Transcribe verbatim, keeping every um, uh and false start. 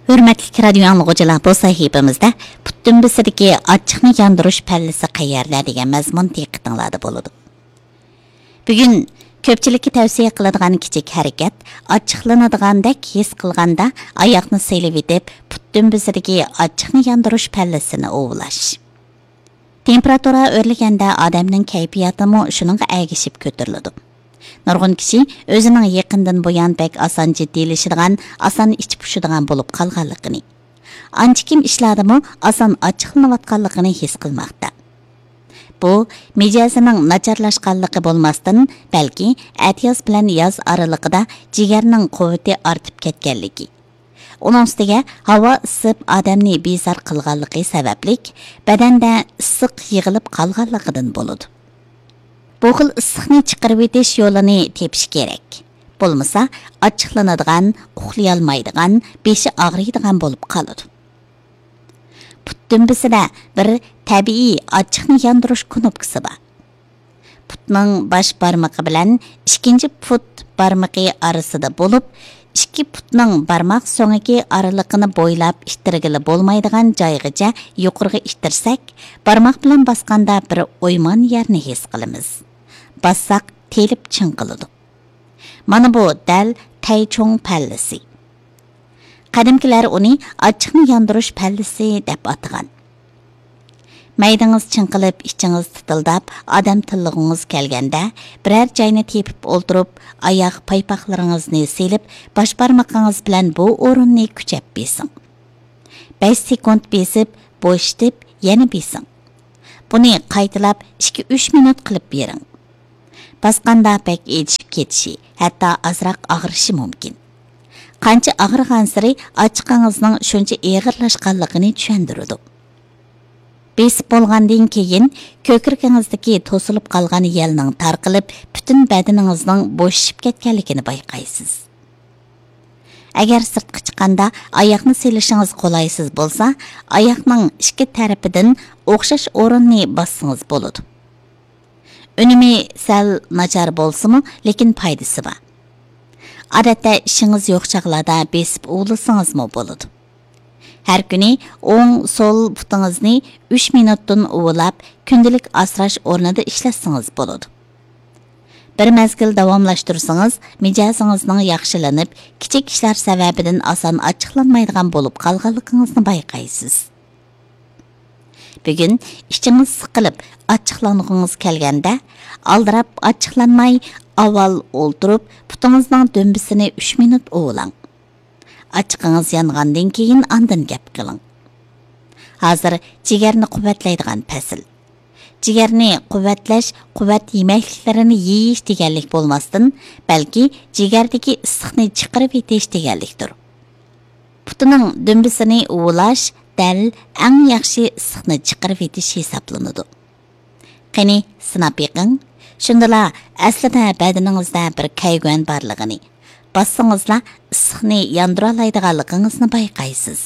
ھۆرمەتلىك رادىيو ئاڭلىغۇچىلار، بۇ سەھىپىمىزدە پۇت دۈمبىسىدىكى ئاچچىقنى ياندۇرۇش پەللىسى قەيەردە دېگەن مەزمۇن دىققىتىڭلاردا بولىدۇ. بۈگۈن كۆپچىلىككە تەۋسىيە قىلىدىغان كىچىك ھەرىكەت، ئاچچىقلىنىدىغاندەك ھېس قىلغاندا ئاياقنى سېلىۋېتىپ، پۇت دۈمبىسىدىكى ئاچچىقنى ياندۇرۇش پەللىسىنى ئۇۋۇلاش. تېمپېراتۇرا ئۆرلىگەندە ئادەمنىڭ كەيپىياتىمۇ شۇنىڭغا ئەگىشىپ كۆتۈرۈلىدۇ. نۇرغۇن كىشى ئۆزىنىڭ يېقىندىن بۇيان بەك ئاسان جىددىيلىشىدىغان، ئاسان ئىچى پۇشىدىغان بولۇپ قالغانلىقىنى، ئانچە كىم ئىشلاردىمۇ ئاسان ئاچچىقلىنىۋاتقانلىقىنى ھېس قىلماقتا. بۇ مىجەزىنىڭ ناچارلاشقانلىقى بولماستىن، بەلكى ئەتىياز بىلەن ياز ئارىلىقىدا جىگەرنىڭ قۇۋۋىتى ئارتىپ كەتكەنلىكى، ئۇنىڭ ئۈستىگە ھاۋا ئىسسىپ ئادەمنى بىزار قىلغانلىقى سەۋەبلىك، بەدەندە ئىسسىق يىغىلىپ قالغانلىقىدىن بولىدۇ. بۇ خىل ئىسسىقنى چىقىرىۋېتىش يولىنى تېپىش كېرەك. بولمىسا، ئاچچىقلىنىدىغان، ئۇخلىيالمايدىغان، بېشى ئاغرىيدىغان بولۇپ قالىدۇ. پۇت دۈمبىسىدە بىر تەبىئىي ئاچچىقنى ياندۇرۇش كۇنۇپكىسى بار. پۇتنىڭ باش بارمىقى بىلەن ئىككىنچى پۇت بارمىقى ئارىسىدا بولۇپ، ئىككى پۇتنىڭ بارماق سۆڭىكى ئارىلىقىنى بويلاپ ئىتتىرگىلى بولمايدىغان جايغىچە يۇقىرىغا ئىتتىرسەك، بارماق بىلەن باسقاندا بىر ئويمان يەرنى ھېس قىلىمىز. باسساق تېلىپ چىڭقىلىدۇ. مانا بۇ دەل تەيچوڭ پەللىسى. قەدىمكىلەر ئۇنى ئاچچىقنى ياندۇرۇش پەللىسى دەپ ئاتىغان. مەيدىڭىز چىڭقىلىپ، ئىچىڭىز تىتىلداپ، ئادەم تىللىغۇڭىز كەلگەندە، بىرەر جاينى تېپىپ ئولتۇرۇپ، ئاياغ پايپاقلىرىڭىزنى سېلىپ، باش بارمىقىڭىز بىلەن بۇ ئورۇننى كۈچەپ بېسىڭ. بەش سېكۇنت بېسىپ، بوشىتىپ، يەنە بېسىڭ. بۇنى قايتىلاپ ئىككى ئۈچ مىنۇت قىلىپ بېرىڭ. باسقاندا بەك ئېچىشىپ كېتىشى، ھەتتا ئازراق ئاغرىشى مۇمكىن. قانچە ئاغرىغانسېرى ئاچچىقىڭىزنىڭ شۇنچە ئېغىرلاشقانلىقىنى چۈشەندۈرىدۇ. بېسىپ بولغاندىن كېيىن، كۆكرىكىڭىزدىكى توسۇلۇپ قالغان يەلنىڭ تارقىلىپ، پۈتۈن بەدىنىڭىزنىڭ بوشىشىپ كەتكەنلىكىنى بايقايسىز. ئەگەر سىرتقا چىققاندا ئاياقنى سېلىشىڭىز قولايسىز بولسا، ئاياقنىڭ ئىككى تەرىپىدىن ئوخشاش ئورۇننى باسسىڭىز بولىدۇ. ئۈنۈمى سەل ناچار بولسىمۇ، لېكىن پايدىسى بار. ئادەتتە ئىشىڭىز يوق چاغلاردا بېسىپ ئۇۋۇلىسىڭىزمۇ بولىدۇ. ھەر كۈنى ئوڭ، سول پۇتىڭىزنى ئۈچ مىنۇتتىن ئۇۋۇلاپ، كۈندىلىك ئاسراش ئورنىدا ئىشلەتسىڭىز بولىدۇ. بىر مەزگىل داۋاملاشتۇرسىڭىز، مىجەزىڭىزنىڭ ياخشىلىنىپ، كىچىك ئىشلار سەۋەبىدىن ئاسان ئاچچىقلانمايدىغان بولۇپ قالغانلىقىڭىزنى بايقايسىز. بۈگۈن ئىچىڭىز سىقىلىپ، ئاچچىقلانغۇڭىز كەلگەندە، ئالدىراپ ئاچچىقلانماي، ئاۋۋال ئولتۇرۇپ، پۇتىڭىزنىڭ دۈمبىسىنى ئۈچ مىنۇت ئۇۋۇلاڭ. ئاچچىقىڭىز يانغاندىن كېيىن ئاندىن گەپ قىلىڭ. ھازىر جىگەرنى قۇۋۋەتلەيدىغان پەسىل. جىگەرنى قۇۋۋەتلەش، قۇۋۋەت يېمەكلىكلىرىنى يېيىش دېگەنلىك بولماستىن، بەلكى جىگەردىكى ئىسسىقنى چىقىرىۋېتىش دېگەنلىكتۇر. پۇتىنىڭ دۈمبىسىنى ئۇۋۇلاش دەل ئەڭ ياخشى ئىسسىقنى چىقىرىۋېتىش ھېسابلىنىدۇ. قېنى، سىناپ بېقىڭ. شۇندىلا ئەسلىدە بەدىنىڭىزدە بىر كەيگۈەن بارلىقىنى، باسسىڭىزلا ئىسسىقنى ياندۇرالايدىغانلىقىڭىزنى بايقايسىز.